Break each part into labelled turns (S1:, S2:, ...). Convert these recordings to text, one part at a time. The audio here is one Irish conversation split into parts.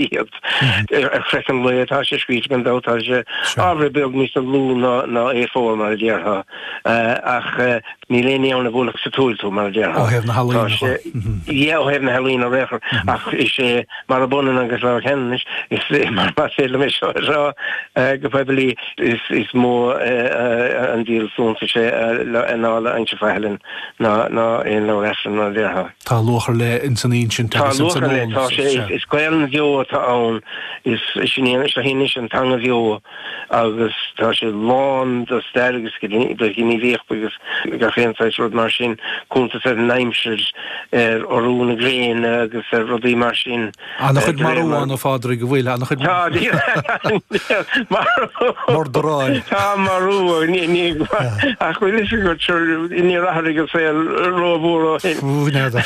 S1: Iad. Ar chraiceann lao atá sé scríte gan dabht, tá sé ábhar beag níos lú ná A4 mar a déarfá, ach níl aon ní ann a bhuailfeadh sa tsúil tú mar a déarfá.
S2: Ó thaobh na healaíne
S1: de. Yeah, ó thaobh na healaíne ar aon chor, ach is é, mar ab ionann agus Leabhar Ceanannais, is mar más féidir liom é seo a rá go poiblí, is mó an díol suntais é Annála Inse Faithlinn ná aon leabhar Aifrinn mar a déarfá.
S2: Tá luach ar leith ins an insint
S1: agus ins an eolas. Tá luach ar leith, tá sé, is Gaelainn bheo atá ann, is sin í, seo í anois an teanga bheo agus tá sé lán de stair agus de ghníomhaíocht agus gach aon saghas rud mar sin, cuntas ar an aimsir, ar urú na gréine agus ar rudaí mar sin.
S2: Ana-chuid marú ann, a Phádraig, an bhfuil? Ana-chuid
S1: Tá,
S2: murdaráil.
S1: Tá marú, ní, ach bhfuil fhios agat, sure, níor athraigh an saol rómhór ó shin.
S2: N'fheadar.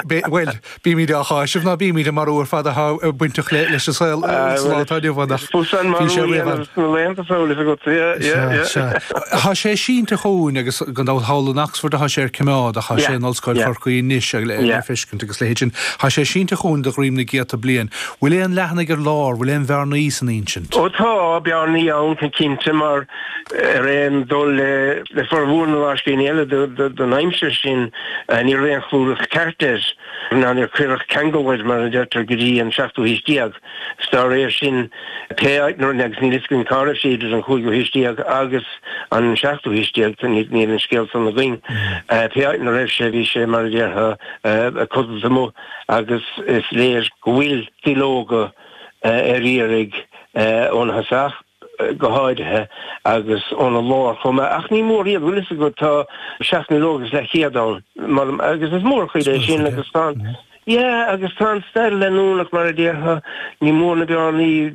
S2: Bhuel, bímid á cháiseamh ná bímid an marú ar fad atá bainteach leis an saol sa lá atá inniu ann ach
S1: bhí sé roimh an. Sna laethanta seo, bhfuil fhios agat, yeah, yeah, yeah.
S2: Sea, sea. Tá sé sínte chugainn agus gan dabht thall in Oxford atá sé ar coimeád ach tá sé in Ollscoil Chorcaí anois le feiscint agus leithéid sin. Tá sé sínte chugainn de dhroim na gcéadta bliain. Bhfuil aon leathanaigh ar lár, bhfuil aon bhearnaí san insint?
S1: Ó tá bearnaí ann cinnte mar ar aon dul le formhór na lámhscríbhinní eile den aimsir sin ní raibh aon chlúdach ceart air ná níor cuireadh ceangal air mar a deirtear go dtí an seachtú haois déag. 'S dá réir sin, pé áit ina raibh, agus níl fhios againn cá raibh sé idir an chúigiú haois déag agus an seachtú haois déag, níl an scéal san againn, pé áit ina raibh sé, bhí sé, mar a déarfá, codlata amuigh agus is léir go bhfuil duilleoga ar iarraidh óna thosach go háirithe agus óna lár chomh maith. Ach ní mór iad, bhfuil fhios agat, tá 7 nduilleog is leathchéad ann, agus is mórchuid é sin agus tá an, yeah, agus tá an stair leanúnach mar a déarfá, ní mór na bearnaí,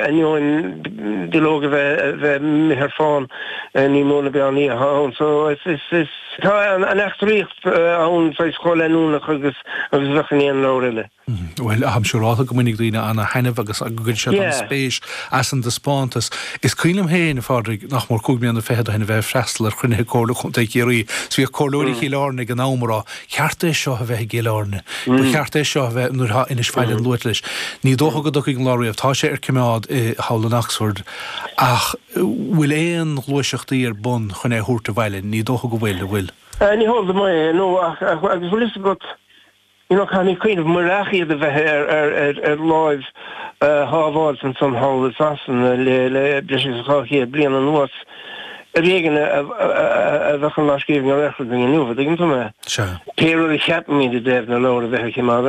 S1: ainneoin duilleog a bheith a bheith imithe ar fán, ní mór na bearnaí atá ann. So is, is, is, tá an eachtraíocht ann saghas chomh leanúnach agus agus a bheadh in aon leabhar eile.
S2: Bhuel, táim siúrálta go mbainfidh daoine ana-thaitneamh agus go gcuirfidh siad an-spéis as an dtaispeántas. Is cuimhin liom féin, a Phádraig, nach mór 25 mbliana ó shin a bheith ag freastal ar chruinnithe Comhairle Chontae Chiarraí 's bhíodh comhairleoirí Chill Airne ag an am ag rá, cheart é seo a bheith i gCill Airne, ba cheart é seo a bheith, nuair atá Inis Faithlinn luaite leis. Ní dócha go dtiocfaidh an lá riamh. Tá sé ar coimeád i thall in Oxford ach bhfuil aon ghluaiseachtaí ar bun chun é a thabhairt abhaile? Ní dócha go bhfuil, an bhfuil?
S1: Ní heol dom é, no, ach agus bhfuil fhios agat, You know, caithfimid cuimhneamh, murach iad a bheith ar láimh shábháilte ansan thall i Sasana le breis agus 200 bliain anuas, ar éigean a bheadh an lámhscríbhinn ar aon chor againn inniu, an dtuigeann tú mé?
S2: Sea.
S1: Pé rud a cheapaimid i dtaobh na leabhar a bheith ar choimeád,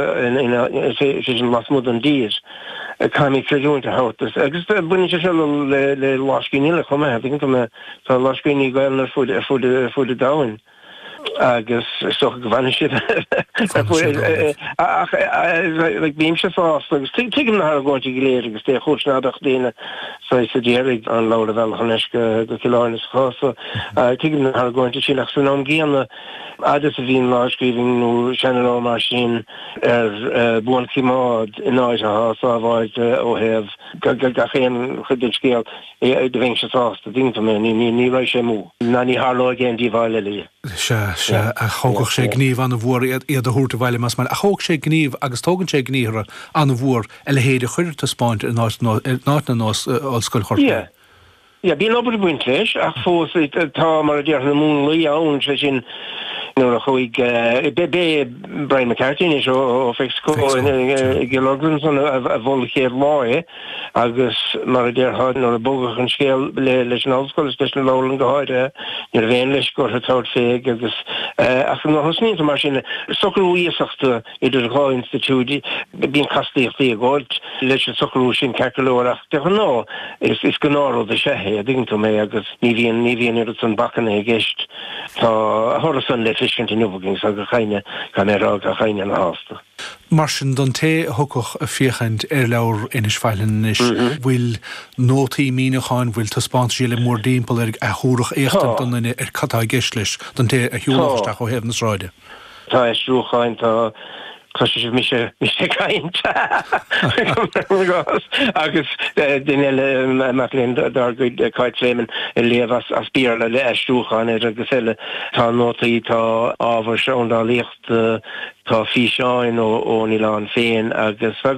S1: sé sin lasmuigh den dtír, caithfimid creidiúint a thabhairt, agus baineann sé seo le lámhscríbhinní eile chomh maith, an dtuigeann tú mé? Tá lámhscríbhinní Gaelainne ar fud an domhain. agus is dócha go bhfanfaidh siad ach like bímse sásta agus tuigim na hargóintí go léir agus dé chúis ná beadh daoine saghas a d'iarraidh an leabhar a mhealladh thar n-ais go Cill Airne sa chás so tuigim na hargóintí sin ach san am gcéanna fhad is a bhíonn lámhscríbhinn nó seanleabhar mar sin ar buanchoimeád in áit atá sábháilte ó thaobh gach aon chuid den scéal Do bheinnse sásta, tuigeann tú mé, ní raghaidh sé amú, ná ní tharlóidh aon díobháil eile.
S2: Sea, sea, ach thógfadh sé gníomh an-mhór iad a thabhairt abhaile más maith. Ach thóg sé gníomh, agus tógann sé gníomhartha an-mhór a leithéid a chur ar taispeáint in áit ar nós Ollscoil Chorcaí.
S1: Yeah, yeah, bíonn obair ag baint leis, ach fós tá, mar a déarfá, na múnlaí ann, sé sin, nuair a chuaigh, b'é Brian McCarthy anois ó Fexco i gCill Orglan ansan a mhol an chéad lá é. Agus, mar a déarfá, nuair a bogadh an scéal leis an ollscoil is leis an leabharlann go háirithe, ní raibh aon leisce orthu tabhairt fé agus, ach nuair a thosnaíonn tú mar sin, socrú iasachta idir dhá institiúid, bíonn castaíochtaí ag gabháilt leis an socrú sin ceart go leor ach de ghnáth is is gnáthrud is ea é, an dtuigeann tú mé, agus ní bhíonn ní bhíonn oiread san bacanna i gceist. Tá a thoradh san le feiscint inniu againn so gach éinne, caithfidh mé a rá, gach éinne ana shásta.
S2: Mar sin, don té a thiocfadh ag féachaint ar leabhar Inis Faithlinn anois, bhfuil nótaí míniúcháin, bhfuil taispeántaisí eile mórdtimpeall air a thabharfadh éachtaint don duine ar cad tá i gceist leis, don té a shiúlfadh isteach ó thaobh na sráide?
S1: Tá aistriúcháin, tá. Cloisfidh sibh mise mise ag caint agus duine eile, mac léinn dár gcuid, Cáit Fleming, ag léamh as Béarla le aistriúchán air agus eile. Tá nótaí, tá ábhar seandálaíochta, tá físeáin ón oileán féin agus tá go.